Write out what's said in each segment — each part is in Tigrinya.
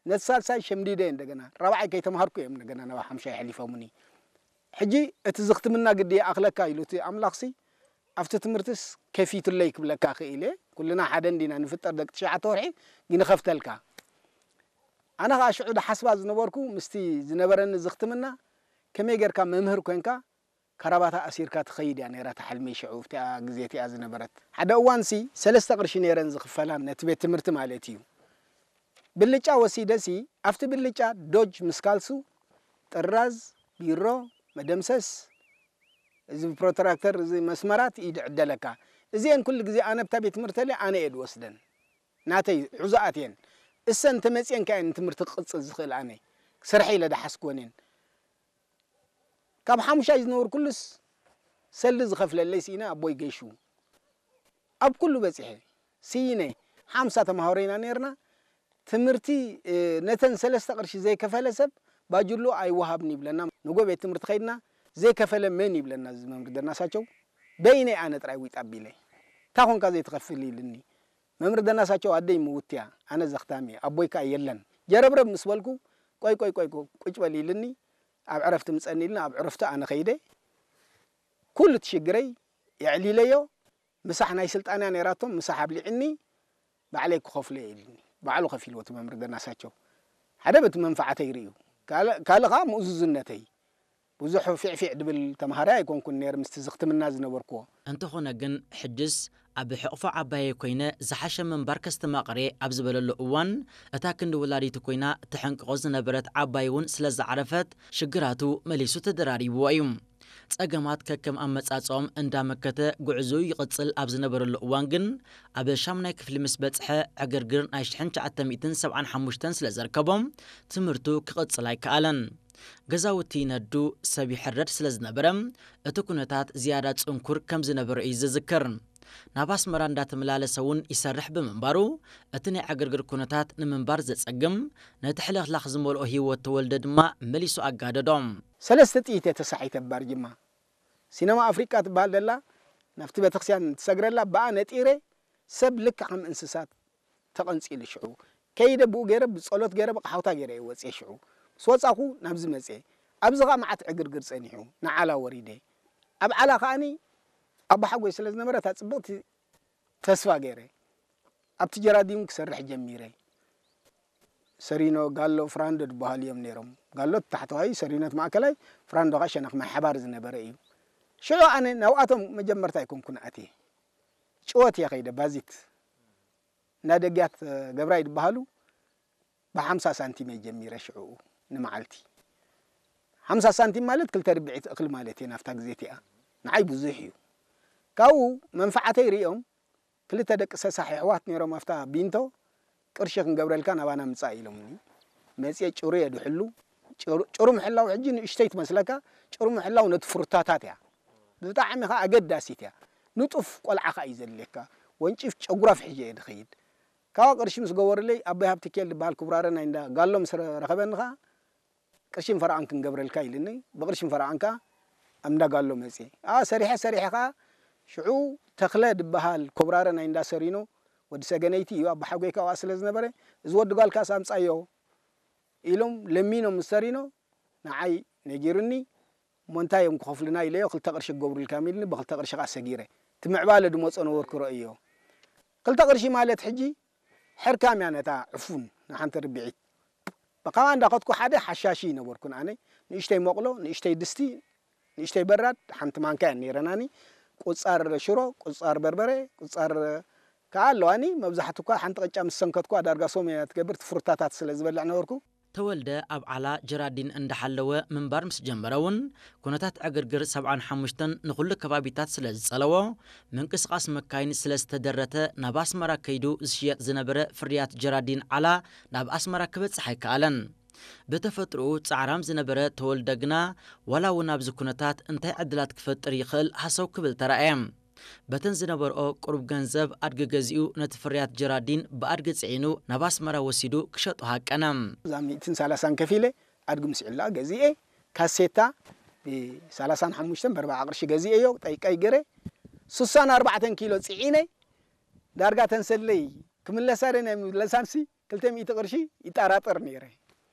ነቲ ሳልሳይ ሸምዲደ እንደገና ራብዓይ ከይተምሃርኩ እዮም እንደገና ናብ ሓምሻይ ኣሕሊፎምኒ። ሕጂ እቲ ዝኽትምና ግዲ ይኣኽለካ ኢሉ እቲ ኣምላኽሲ ኣብቲ ትምህርትስ ከፊቱለይ ክብለካ ክኢለ። ኩልና ሓደ እንዲና ንፍጠር ደቂ ትሽዓተ ወርሒ ግን ይኸፍተልካ። ኣነ ኸዓ ሽዑ ድሓስባ ዝነበርኩ ምስቲ ዝነበረኒ ዝኽትምና ከመይ ጌርካ መምህር ኮንካ ካራባታ ኣሲርካ ትኸይድ እያ ነይራ እታ ሕልመይ ሽዑ ኣብቲኣ ግዜ እቲኣ ዝነበረት። ሓደ እዋንሲ ሰለስተ ቅርሺ ነይረን ዝኽፈላ ነቲ ቤት ትምህርቲ ማለት እዩ። ብልጫ ወሲደሲ ኣብቲ ብልጫ ዶጅ ምስ ካልሱ ጥራዝ፣ ቢሮ፣ መደምሰስ፣ እዚ ፕሮትራክተር፣ እዚ መስመራት ኢድ ዕደለካ። እዚአን ኩሉ ግዜ ኣነ ብታ ቤት ትምህርቲ ኣነ እየ ድወስደን። ናተይ ሑዛኣት እየን። እሰን ተመፅየን ከ እየን ትምህርቲ ክቕፅል ዝኽእል ኣነ። ስርሐ ኢለ ድሓስክወን እየን። ካብ ሓሙሻይ ዝነብር ኩሉስ ሰልዲ ዝኸፍለለይ ስኢነ ኣቦይ ገሹ። ኣብ ኩሉ በፂሐ ስኢነ ሓምሳ ተምሃሮ ኢና ነይርና። ትምህርቲ ነተን ሰለስተ ቅርሺ ዘይከፈለ ሰብ ባጅሉ ኣይወሃብን ይብለና። ንጎ ቤት ትምህርቲ ከይድና ዘይከፈለ መን ይብለና እዚ መምህር ደናሳቸው። በይነይ ኣነ ጥራይ ዊጥ ኣቢለ እንታይ ኮንካ ዘይትኸፍል ኢልኒ። መምህር ደናሳቸው ኣደይ ምውት እያ፣ ኣነ ዘኽታም እየ፣ ኣቦይ ከኣ የለን። ጀረብረብ ምስ በልኩ ቆይ ቆይ ቆይ ቁጭ በል ኢልኒ። ኣብ ዕረፍቲ ምጸኒ ኢልና ኣብ ዕረፍቲ ኣነ ከይደ ኩሉ እቲ ሽግረይ የዕሊለዮ። ምሳሕ ናይ ስልጣንያ ነይራቶም፣ ምሳሕ ኣብሊዕኒ፣ ባዕለይ ክኸፍሎ እየ ኢልኒ። ባዕሉ ከፊልዎ እቲ መምህር ደናሳቸው። ሓደ በቲ መንፈዓተይ ርእዩ፣ ካልእ ካልእ ኸዓ ምእዙዝነተይ። ብዙሕ ፊዕፊዕ ድብል ተምሃራይ ኣይኮንኩን ነይረ ምስቲ ዝኽትምና ዝነበርኩዎ። እንተኾነ ግን ሕጅስ ኣብ ሕቕፎ ዓባየይ ኮይነ ዝሓሸ ምንባር ከስተማቕር እየ ኣብ ዝበለሉ እዋን እታ ክንዲ ወላዲቱ ኮይና ተሐንቅቖ ዝነበረት ዓባይ እውን ስለ ዝዓረፈት ሽግራቱ መሊሱ ተደራሪብዎ እዩ። ጸገማት ከከም ኣመጻጽኦም እንዳመከተ ጉዕዞኡ ይቕጽል ኣብ ዝነበረሉ እዋን ግን ኣብ ሻምናይ ክፍሊ ምስ በጽሐ ዕግርግር ናይ ሽሕን ትሽዓተ ሚእትን ሰብዓን ሓሙሽተን ስለ ዘርከቦም ትምህርቱ ክቕጽል ኣይከኣለን። ገዛውቲ ይነዱ፣ ሰብ ይሕረድ ስለ ዝነበረ እቲ ኩነታት ዝያዳ ጽንኩር ከም ዝነበረ እዩ ዝዝክር። ናብ ኣስመራ እንዳተመላለሰ እውን ይሰርሕ ብምንባሩ እቲ ናይ ዕግርግር ኩነታት ንምንባር ዘጸግም ነቲ ሕልኽላኽ ዝመልኦ ህይወት ተወልደ ድማ መሊሱ ኣጋደዶ። ሰለስተ ጥይት እየ ተሳሒተ ባርጅማ። ሲነማ ኣፍሪቃ ትበሃል ደላ ናብቲ ቤተክርስትያን ትሰግረላ ብኣ ነጢረ ሰብ ልክዕ ከም እንስሳት ተቐንጺሉ ሽዑ ከይደ ብኡ ገይረ ብጸሎት ገይረ ብቃሓውታ ገይረ እየ ወጽየ ሽዑ ምስ ወጻኹ ናብዚ መጽየ ኣብዚ ኸዓ መዓት ዕግርግር ጸኒሑ ንዓላ ወሪደ ኣብ ዓላ ከዓኒ ኣቦሓጎይ ስለ ዝነበረ እታ ጽብቕቲ ተስፋ ገይረ ኣብቲ ጀራዲን ክሰርሕ ጀሚረ ሰሪኖ ጋሎ ፍራንዶ ዝበሃሉ እዮም ነይሮም ጋሎ ታሕተዋይ ሰሪኖት ማእከላይ ፍራንዶ ኸዓ ሸነኽ ማይ ሓባር ዝነበረ እዩ ሽዑ ኣነ ናብኣቶም መጀመርታ ኣይኮንኩን ኣትየ ጭወት እየ ከይደ ባዚት እንዳ ደግያት ገብራይ ዝበሃሉ ብሓምሳ ሳንቲም እየ ጀሚረ ሽዕኡ ንመዓልቲ ሓምሳ ሳንቲም ማለት ክልተ ርብዒት እኽሊ ማለት እየ ናብታ ግዜ እቲኣ ንዓይ ብዙሕ እዩ ካብኡ መንፈዓተይ ሪኦም ክልተ ደቂ ሰሳሕ የሕዋት ነይሮም ኣብታ ቢንቶ ቅርሺ ክንገብረልካ ናባና ምጻእ ኢሎምኒ መጽየ ጭሩ እየ ድሕሉ ጭሩ ምሕላው ሕጂ ንእሽተይ ትመስለካ ጭሩ ምሕላው ነቲ ፍሩታታት እያ ብጣዕሚ ኸዓ ኣገዳሲት እያ ንጡፍ ቆልዓ ኸዓ እዩ ዘድልየካ ወንጪፍ ጨጉራፍ ሕጂ እየ ድኸይድ ካዋ ቅርሺ ምስ ገበሩለይ ኣቦይ ሃብትኪኤል ዝበሃል ክቡራረ ናይ እንዳ ጋሎ ምስ ረኸበኒ ኸዓ ቅርሺን ፈረቓን ክንገብረልካ ኢልኒ ብቅርሺን ፈረቓን ከኣ ኣብ እንዳ ጋሎ መፅየ ኣዋ ሰሪሐ ሰሪሐ ከኣ ሽዑ ተኽለ ዝበሃል ኮብራረ ናይ እንዳ ሰሪኖ ወዲ ሰገነይቲ እዩ ኣቦሓጎይ ካብኣ ስለ ዝነበረ እዚ ወዲ ጓልካስ ኣምፃዮ ኢሎም ለሚኖም ምስ ሰሪኖ ንዓይ ነጊሩኒ እሞ እንታይ እዮም ክኸፍሉና ኢለዮ ክልተ ቅርሺ ክገብሩልካ እዮም ኢልኒ ብክልተ ቅርሺ ከኣ ሰጊረ እቲ ምዕባለ ድመፆ ነበርኩ ረእዮ ክልተ ቅርሺ ማለት ሕጂ ሕርካም እያ ነታ ዕፉን ንሓንቲ ርብዒት ብኻባ እንዳኸድኩ ሓደ ሓሻሺ ነበርኩን ኣነ ንእሽተይ መቕሎ ንእሽተይ ድስቲ ንእሽተይ በራድ ሓንቲ ማንካ እያ ነይረናኒ ቁፃር ሽሮ ቁፃር በርበረ ቁፃር ከዓ ኣለዋኒ መብዛሕትኳ ሓንቲ ቅጫ ምስ ሰንከትኳ ዳርጋ ሶም እያ ትገብር ትፍሩታታት ስለ ዝበልዕ ነበርኩ ተወልደ ኣብ ዓላ ጀራዲን እንዳሓለወ ምንባር ምስ ጀመረ እውን ኩነታት ዕግርግር ሰብዓን ሓሙሽተን ንኹሉ ከባቢታት ስለ ዝጸለዎ ምንቅስቓስ መካይን ስለ ዝተደረተ ናብ ኣስመራ ከይዱ ዝሽየጥ ዝነበረ ፍርያት ጀራዲን ዓላ ናብ ኣስመራ ክበጽሕ ኣይከኣለን። ብተፈጥሮኡ ጻዕራም ዝነበረ ተወልደ ግና ዋላ እውን ኣብዚ ኩነታት እንታይ ዕድላት ክፈጥር ይኽእል ሃሰው ክብል ተራእየ። በተን ዝነበርኦ ቅሩብ ገንዘብ ኣድጊ ገዚኡ ነቲ ፍርያት ጀራዲን ብኣድጊ ጽዒኑ ናብ ኣስመራ ወሲዱ ክሸጦ ሃቀነ። እዛ ሚእትን ሰላሳን ከፊለ ኣድጊ ምስዕላ ገዚኤ ካሴታ ብሰላሳን ሓሙሽተን ብኣርባዓ ቅርሺ ገዚኤዮ ጠይቀይ ገረ ሱሳን ኣርባዕተን ኪሎ ጽዒነ ዳርጋ ተንሰለይ ክምለሳ ደ ናይ ምለሳንሲ ክልተ ሚእቲ ቅርሺ ይጠራጠር ነይረ።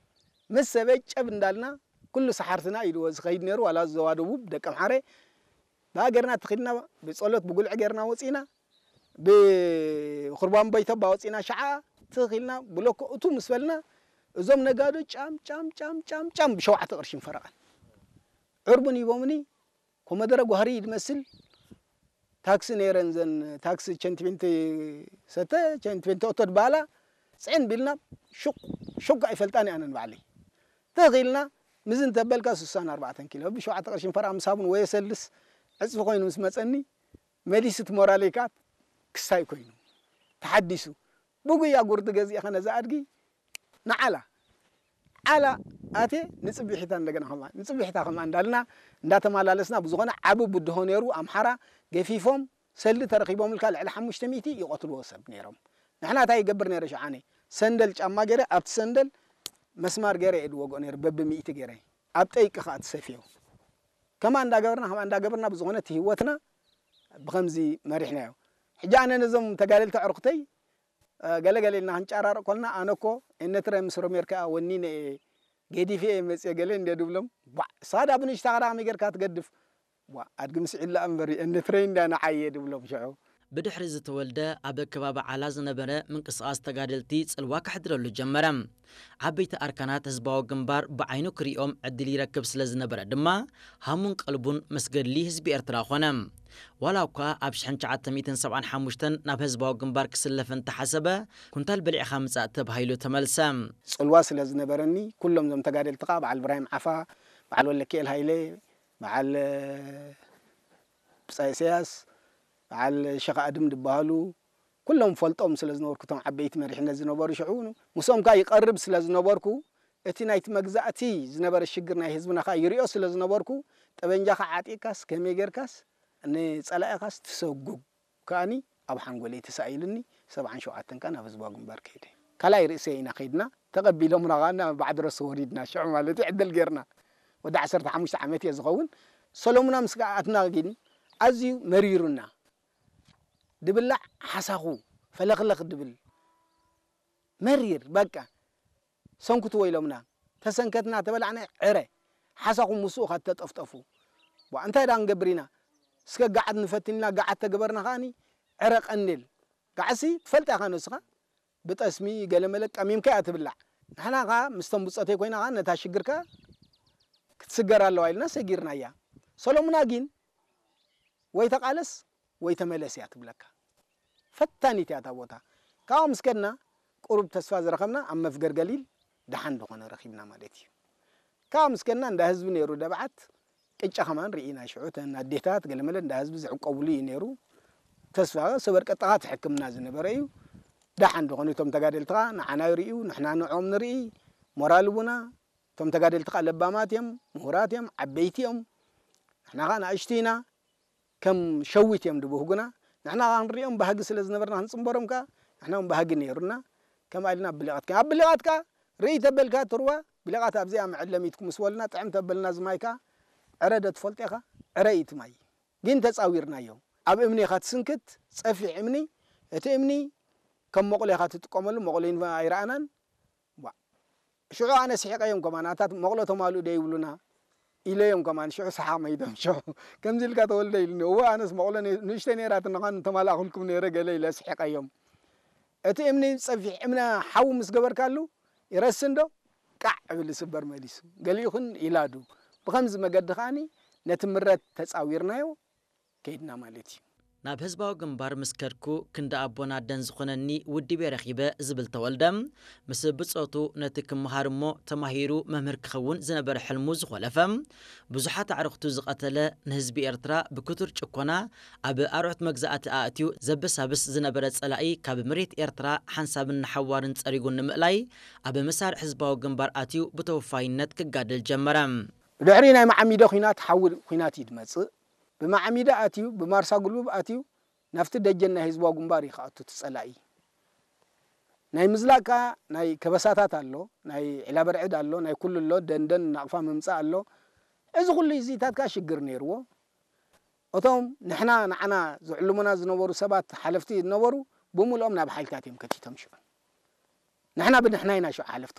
ምስ ሰበይ ጨብ እንዳልና ኩሉ ሰሓርትና ኢልዎ ዝኸይድ ነይሩ። ዋላ ዞባ ደቡብ ደቀምሓረ ብሃገርና ተኺድና ብጸሎት ብጉልዒ ጌርና ወጺና ብኹርባን በይተባ ወጺና ሸዓ ትኺልና ብሎኮ እቱ ምስ በልና እዞም ነጋዶ ጫም ጫም ጫም ጫም ጫም ብሸውዓተ ቅርሽን ፈረቓን ዕርቡን ሂቦምኒ። ኮመደረ ጓህሪ ድመስል ታክሲ ነይረን፣ ዘን ታክሲ ቸንትቤንት ሰተ ቸንትቤንት ኦቶ ድባላ ጽዕን ቢልና ሹቅ ሹቅ ኣይፈልጣን ኣነን ባዕለይ ተኺልና ምዝን ተበልካ ስሳን ኣርባዕተን ኪሎ ብሸውዓተ ቅርሽን ፈረቓ ምስ ሃቡን ወየ ሰልስ ዕጽፊ ኮይኑ ምስ መጸኒ መሊስት ሞራለይካ ክስታይ ኮይኑ ተሓዲሱ ብጉያ ጉርዲ ገዚእኻ ነዛ ኣድጊ ንዓላ ዓላ ኣቴ ንጽቢሒታ እንደገና ከማ ንጽቢሒታ ከማ እንዳልና እንዳተማላለስና ብዝኾነ ዓቢ ብድሆ ነይሩ ኣምሓራ ገፊፎም ሰልዲ ተረኺቦምልካ ልዕሊ ሓሙሽተ ሚእቲ ይቐትልዎ ሰብ ነይሮም። ንሕና እንታይ ይገብር ነይረ ሽዓነ ሰንደል ጫማ ገይረ ኣብቲ ሰንደል መስማር ገይረ እየ ድወግኦ ነይረ በብሚእቲ ገይረ ኣብ ጠይቂ ከዓ ትሰፍዮ ከማ እንዳገበርና ከማ እንዳገበርና ብዝኾነ እቲ ህይወትና ብኸምዚ መሪሕናዮ። ሕጂ ኣነ ነዞም ተጋደልቲ ኣዕሩኽተይ ገለ ገለ ኢልና ክንጨራረቕ ኮልና ኣነ እኮ ኤነትረ ምስ ሮሜር ከዓ ወኒነ እየ ገዲፈ እየ መፅየ ገለ እንደ ድብሎም ቧዕ ሳዳ ብንሽታ ከዳ ከመይ ጌርካ ትገድፍ ቧዕ ኣድጊ ምስ ዒላ እምበር ኤነትረ እንዳ ንዓየ ድብሎም ሽዑ ብድሕሪ ዝተወልደ ኣብ ከባቢ ዓላ ዝነበረ ምንቅስቓስ ተጋደልቲ ጽልዋ ከሕድረሉ ጀመረ። ዓበይቲ ኣርካናት ህዝባዊ ግንባር ብዓይኑ ክሪኦም ዕድል ይረክብ ስለ ዝነበረ ድማ ሃሙን ቀልቡን ምስ ገድሊ ህዝቢ ኤርትራ ኾነ። ዋላ እኳ ኣብ ሽሕን ትሽዓተ ሚእትን ሰብዓን ሓሙሽተን ናብ ህዝባዊ ግንባር ክስለፍ እንተሓሰበ ኩንታል በሊዕኻ ምጻእ ተባሂሉ ተመልሰ። ጽልዋ ስለ ዝነበረኒ ኩሎም ዞም ተጋደልቲ ከዓ በዓል ብራሂም ዓፋ፣ በዓል ወለኪኤል ሃይለ፣ በዓል ብጻይ ኢሳያስ፣ በዓል ሸኻ ኣድም ዝበሃሉ ኩሎም ፈልጦም ስለ ዝነበርኩ እቶም ዓበይቲ መሪሕነት ዝነበሩ ሽዑ ምስኦም ከዓ ይቐርብ ስለ ዝነበርኩ እቲ ናይቲ መግዛእቲ ዝነበረ ሽግር ናይ ህዝብና ከዓ ይሪኦ ስለ ዝነበርኩ ጠበንጃኻ ዓጢቕካስ ከመይ ጌርካስ ንጸላኢኻስ ትሰጉግ ከኣኒ ኣብ ሓንጎለይ ተሳኢሉኒ ሰብዓን ሸውዓተን ከዓ ናብ ህዝባዊ ግንባር ከይደ ካልኣይ ርእሰ ኢና ከይድና ተቐቢሎምና ከዓ ናብ ባዕዲ ረሱ ወሪድና ሽዑ ማለት እዩ ዕድል ጌርና ወዲ ዓሰርተ ሓሙሽተ ዓመት እየ ዝኸውን ሰሎሙና ምስ ኣትና ግን ኣዝዩ መሪሩና ድብላዕ ሓሳኹ ፈለኽለኽ ድብል መሪር በቃ ሰንኩትዎ ኢሎምና ተሰንከትና ተበላዕና ዕረ ሓሳኹ ምስኡ ካብ ተጠፍጠፉ ዋ እንታይ ዳ ንገብር ኢና እስከ ጋዓት ንፈትን ኢና ጋዓት ተገበርና ከኣኒ ዕረ ቀንዴል ጋዕሲ ትፈልጣ ኢኻ ነስኻ ብጠስሚ ገለመለ ቀሚምካ እያ ትብላዕ ንሕና ኸዓ ምስቶም ብፆተይ ኮይና ኸዓ ነታ ሽግርካ ክትስገር ኣለዋ ኢልና ሰጊርናያ ሰሎሙና ግን ወይ ተቓለስ ወይ ተመለስ እያ ትብለካ ፈታኒት እያ እታ ቦታ ካብኡ ምስ ከድና ቁሩብ ተስፋ ዝረኸብና ኣብ መፍገር ገሊል ደሓን ዝኾነ ረኺብና ማለት እዩ ካብ ምስ ከድና እንዳ ህዝቢ ነይሩ ደብዓት ቅጫ ከማን ርኢና ሽዑ ተን ኣዴታት ገለመለ እንዳ ህዝቢ ዝዕቆብሉ እዩ ነይሩ ተስፋ ሰበር ቀጥታ ትሕክምና ዝነበረ እዩ ደሓን ዝኾኑ እቶም ተጋደልትኻ ንዓና ይርእዩ ንሕና ንዕኦም ንርኢ ሞራል ቡና እቶም ተጋደልትኻ ለባማት እዮም ምሁራት እዮም ዓበይቲ እዮም ንሕና ኸዓ ንኣሽቱ ኢና ከም ሸዊት እዮም ድብህጉና ንሕና ኸዓ ክንሪኦም ባህጊ ስለ ዝነበርና ክንፅምበሮም ከዓ ንሕና እውን ባህጊ ነይሩና ከምኣ ኢልና ብሊቓት ከ ኣብ ብሊቓት ከዓ ርኢ ተበልካ ትርዋ ብሊቓት ኣብዚኣ መዐለሚትኩም ምስ በሉና ጥዕም ተበልና ዝማይ ከዓ ዕረ ዶ ትፈልጦ ኢኻ ዕረ እዩ እቲ ማይ ግን ተፃዊርናዮ ኣብ እምኒ ኢኻ ትስንክት ፀፊሕ እምኒ እቲ እምኒ ከም መቑሎ ኢኻ ትጥቀመሉ መቑሎ ኣይረኣናን ሽዑ ኣነ ስሒቐዮም ከማን ኣታ መቕሎ ተማልኡ ዶ ይብሉና ኢለዮም ከማን ሽዑ ሰሓቕ መይዶም ሽዑ ከምዚ ኢልካ ተወልደ ኢሉኒ እወ ኣነስ መቕሎ ንእሽተይ ነይራትኒ ኸን ተማላእኹልኩም ነይረ ገለ ኢለ ስሒቐዮም እቲ እምኒ ጸፊሕ እምነ ሓዊ ምስ ገበርካሉ ይረስን ዶ ቃዕ እብል ይስበር መሊሱ ገሊኡ ኽን ይላዱ ብኸምዚ መገዲ ኸኣኒ ነቲ ምረት ተጻዊርናዮ ከይድና ማለት እዩ። ናብ ህዝባዊ ግንባር ምስ ከድኩ ክንዲ ኣቦን ኣደን ዝኾነኒ ውድቤ ረኺበ ዝብል ተወልደ፣ ምስ ብጾቱ ነቲ ክመሃር እሞ ተማሂሩ መምህር ክኸውን ዝነበረ ሕልሙ ዝኾለፈ፣ ብዙሓት ኣዕሩኽቱ ዝቐተለ፣ ንህዝቢ ኤርትራ ብክቱር ጭኮና ኣብ ኣርዑት መግዛእቲ ኣእትዩ ዘበሳብስ ዝነበረ ጸላኢ ካብ መሬት ኤርትራ ሓንሳብን ንሓዋርን ጸሪጉ ንምእላይ ኣብ መሳርዕ ህዝባዊ ግንባር ኣትዩ ብተወፋይነት ክጋደል ጀመረ። ብድሕሪ ናይ መዓሚዶ ኲናት ሓዊ ኲናት እዩ ዝመጽእ። ብማዕሚዳ ኣትዩ ብማርሳ ጉልቡብ ኣትዩ ናብቲ ደጀን ናይ ህዝባዊ ግንባር እዩ ክኣቱ እቲ ጸላኢ። ናይ ምዝላቕ ከኣ ናይ ከበሳታት ኣሎ፣ ናይ ዒላበርዕድ ኣሎ፣ ናይ ኩሉ ኣሎ፣ ደንደን ናቕፋ ምምጻእ ኣሎ። እዚ ኩሉ እዚታት ከኣ ሽግር ነይርዎ። እቶም ንሕና ንዓና ዝዕልሙና ዝነበሩ ሰባት ሓለፍቲ ዝነበሩ ብምልኦም ናብ ሓይልታት እዮም ከቲቶም ሽዑ። ንሕና ብንሕና ኢና ሽዑ ሓለፍቲ